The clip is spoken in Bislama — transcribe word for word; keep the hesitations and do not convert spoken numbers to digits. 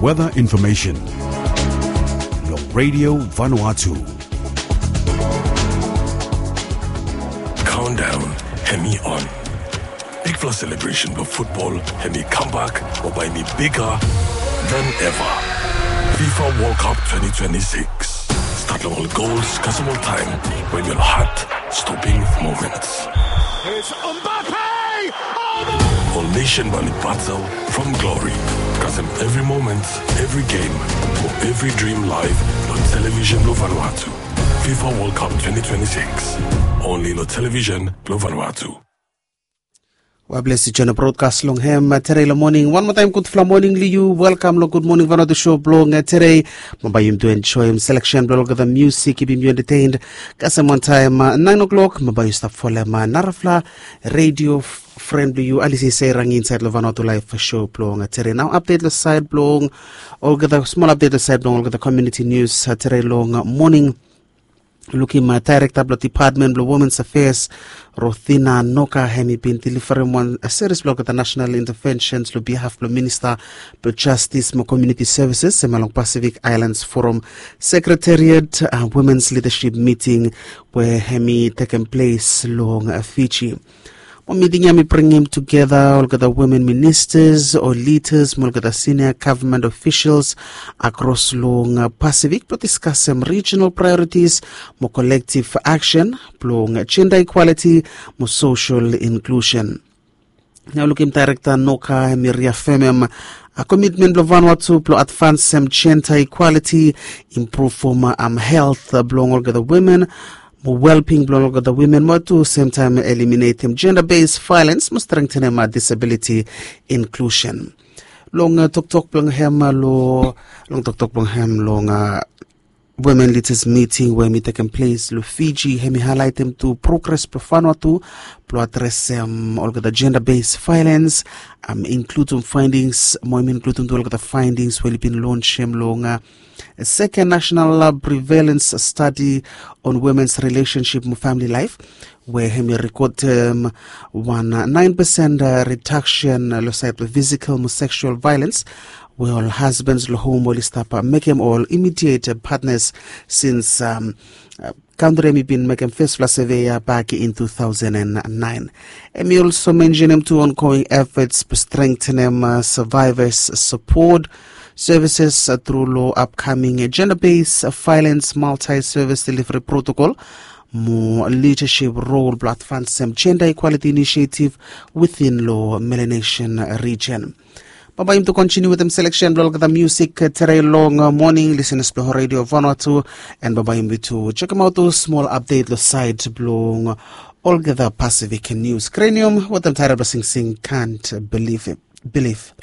Weather information. Long Radio Vanuatu. Countdown hemi on. Bigfala celebration blong football hemi comeback mo bae hemi bigger than ever. FIFA World Cup twenty twenty-six. Start long ol goals kasem ol taem we hemi ol heart stopping moments. It's Mbappe! Oh, the Ol nation bae oli battle from glory kasem every moment, every game, mo every dream live long television blong Vanuatu. FIFA World Cup twenty twenty-six. Only long television blong Vanuatu. Wa bless yu join brodkas long hem tere long moning. Wan moa taem gudfala moning long yu. Welkam long Gud Moning Vanuatu show blong tere. Mo bae yumi tu enjoem selection blong olgeta musik i bi yumi entertained kasem wantaem naen o'clock. Mo bae yu stap folem narafala radio friend blong yu Alice Serangi insaed long Vanuatu Live show blong tere. Nao update long saed blong olgeta, smol update long saed blong olgeta community news tere long moning. Lukim daerekta blong Department blong Women's Affairs, Rothina Noka, hemi bin deliverem wan series blong olgeta national interventions long behalf blong Minista blong Justice mo Community Services hemia long Pacific Islands Forum Secretariat Women's Leadership Meeting we hemi tekem ples long Fiji. Mo miting ya hemi bringim tugeta olgeta women ministers o lidas mo olgeta senior government officials akros long Pacific blong diskasem regional priorities mo collective action blong gender equality mo social inclusion. Nao lukim daerekta Noka hemi riafemem komitmen blong Vanuatu blong advansem gender equality, impruvem health blong olgeta women mo wellbeing blong olgeta women mo tu semtaem eliminatem gender based violence mo strengthenem disability inclusion. Long toktok blong hem long long toktok blong hem long women leaders meeting we hemi tekem ples long Fiji, hemi haelaetem tu progres blong Vanuatu blong adresem olgeta gender based violence, inkludem findings mo hemi inkludem tu olgeta findings we oli bin launchem long second national prevalence study on women's relationship mo family life, we hemi rekodem wan naen pesen reduction long saed blong physical mo sexual violence we ol husbands long hom oli stap mekem ol immediate partners since kantri hemi bin mekem fesfala survey ya bak in two thousand and nine. Hemi also mentionem tu ongoing efforts blong strengthenem survivors support services tru long upcoming gender based violence multi service delivery protocol mo leadership role blong advansem gender equality initiative within long Melanesian region. Bambae yumi tu kontiniu wetem selection blong olgeta musik tere long moning, lisenas blong Radio Vanuatu, and bambae yumi tu jekemaot ol smol update long saed blong olgeta Pacific News. Krenium wetem taetel blong singsing Can't Believe It. Believe.